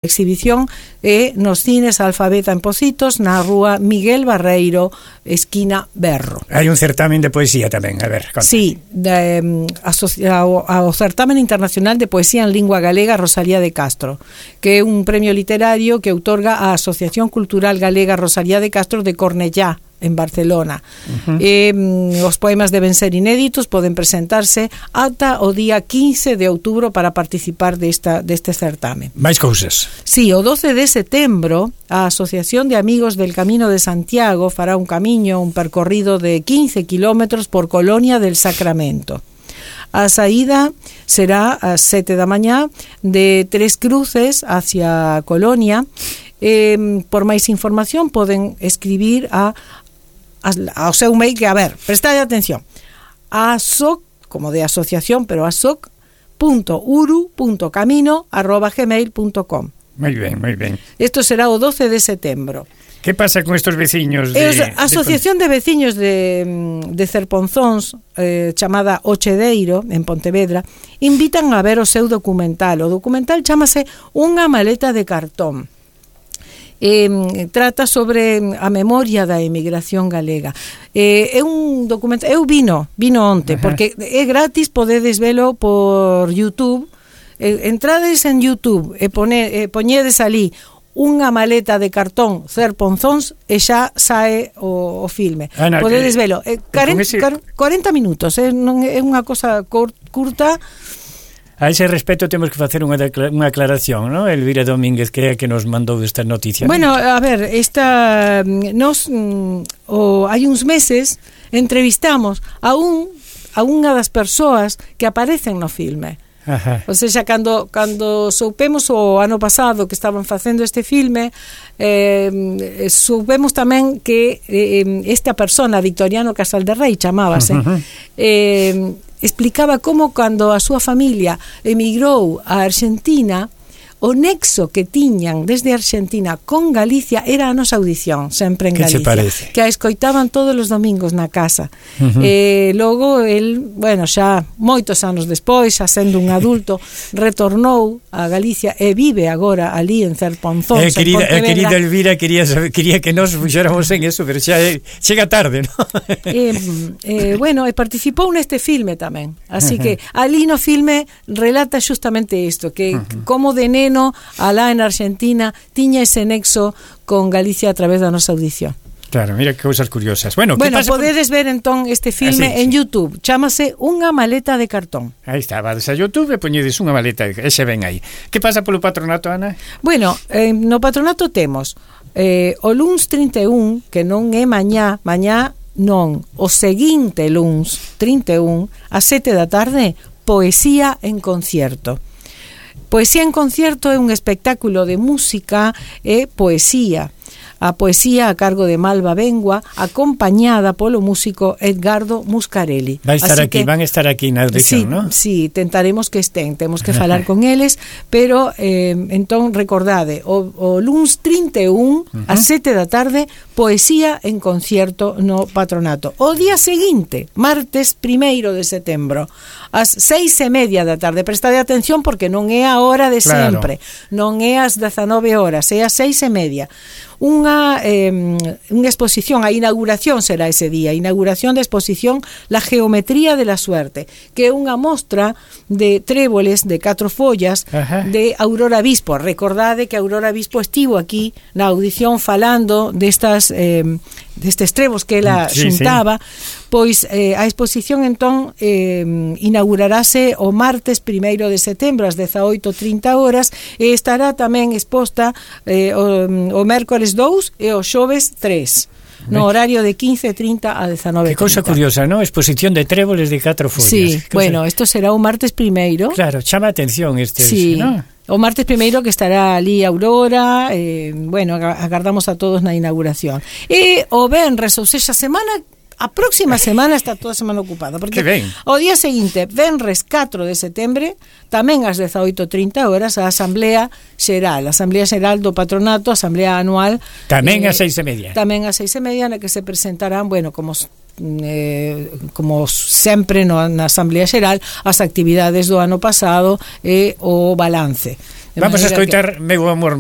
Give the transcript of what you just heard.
exhibición nos cines Alfabeta en Pocitos, na rúa Miguel Barreiro, esquina Berro. Hai un certamen de poesía tamén, a ver, conta. Sí, ao certamen internacional de poesía en lingua galega Rosalía de Castro, que é un premio literario que outorga a Asociación Cultural Galega Rosalía de Castro de Cornellá, en Barcelona. Os poemas deben ser inéditos, poden presentarse ata o día 15 de outubro para participar deste certamen. Mais cousas. Sí, o 12 de setembro a Asociación de Amigos del Camino de Santiago fará un percorrido de 15 kilómetros por Colonia del Sacramento. A saída será ás 7 da mañá de Tres Cruces hacia Colonia. Por máis información poden escribir ao seu mail, que, a ver, prestade atención, asoc, como de asociación, pero asoc.uru.camino@gmail.com. Moi ben. Isto será o 12 de setembro. Que pasa con estos veciños A Asociación de Veciños de Cerponzóns, chamada Ochedeiro, en Pontevedra, invitan a ver o seu documental. O documental chamase Unha maleta de cartón. Trata sobre a memoria da emigración galega. É un documento, eu vino onte, porque é gratis, podedes velo por YouTube. Entrades en YouTube e poñedes ali Unha maleta de cartón Cerponzóns e xa sae o filme. Podedes velo. 40 minutos, non é unha cosa curta. A ese respecto temos que facer unha aclaración, ¿no? Elvira Domínguez, que é a que nos mandou esta noticia. Bueno, a ver, hai uns meses entrevistamos a unha das persoas que aparecen no filme. Ajá. O sea, cando soupemos o ano pasado que estaban facendo este filme, soupemos tamén que esta persona, Victoriano Casalderrey chamábase, explicaba como cando a súa familia emigrou a Argentina, o nexo que tiñan desde Argentina con Galicia era a nosa audición, sempre en Galicia, que a escoitaban todos os domingos na casa. Logo el, bueno, xa moitos anos despois, xa sendo un adulto, retornou a Galicia e vive agora ali en Cerponzóns, querida Elvira quería que nos fuxéramos en eso, pero xa chega tarde, ¿no? Bueno, e participou neste filme tamén, así que ali no filme relata justamente isto, que como de neno alá en Argentina tiña ese nexo con Galicia a través da nosa audición. Claro, mira que cousas curiosas. Bueno, podedes ver entón este filme en YouTube, chámase Unha maleta de cartón. Aí está, vades a YouTube e poñedes unha maleta, ese ven aí. Que pasa polo patronato, Ana? Bueno, no patronato temos o luns 31, que non é mañá non, o seguinte luns 31, a 7 da tarde, poesía en concierto. Poesía en concierto é un espectáculo de música e poesía. A poesía a cargo de Malva Bengua, acompañada polo músico Edgardo Muscarelli. Van a estar aquí na audición, ¿no? Sí, tentaremos que estén, temos que falar con eles, pero entón recordade, o luns 31 a 7 da tarde, poesía en concierto no patronato. O día seguinte, martes 1 de setembro, ás 6:30 da tarde, prestade atención porque non é a hora de sempre, non é ás 19 horas, é ás 6:30. Unha exposición, a inauguración será ese día, inauguración da exposición La Geometría de la Suerte, que é unha mostra de tréboles de 4 follas de Aurora Bispo. Recordade que Aurora Bispo estivo aquí na audición falando destes trebos que ela xuntaba. Pois a exposición entón inaugurarase o martes 1 de setembro ás 18:30 horas e estará tamén exposta o mércores 2 e o xoves 3 no horario de 15:30 a 19:30. Que cousa curiosa, ¿no? Exposición de tréboles de 4 follas. Sí, bueno, isto será o martes 1. Claro, chama a atención sí, ¿no? O martes 1 que estará ali Aurora, bueno, agardamos a todos na inauguración. E o venres, ou seja, a próxima semana está toda a semana ocupada, porque o día seguinte, venres 4 de setembro, tamén ás 18:30 horas, a Asamblea Xeral do Patronato, Asamblea Anual. Tamén ás 6:30. Tamén ás 6:30, na que se presentarán, bueno, como sempre na Asamblea Xeral, as actividades do ano pasado e o balance. Vamos a escoitar Meu amor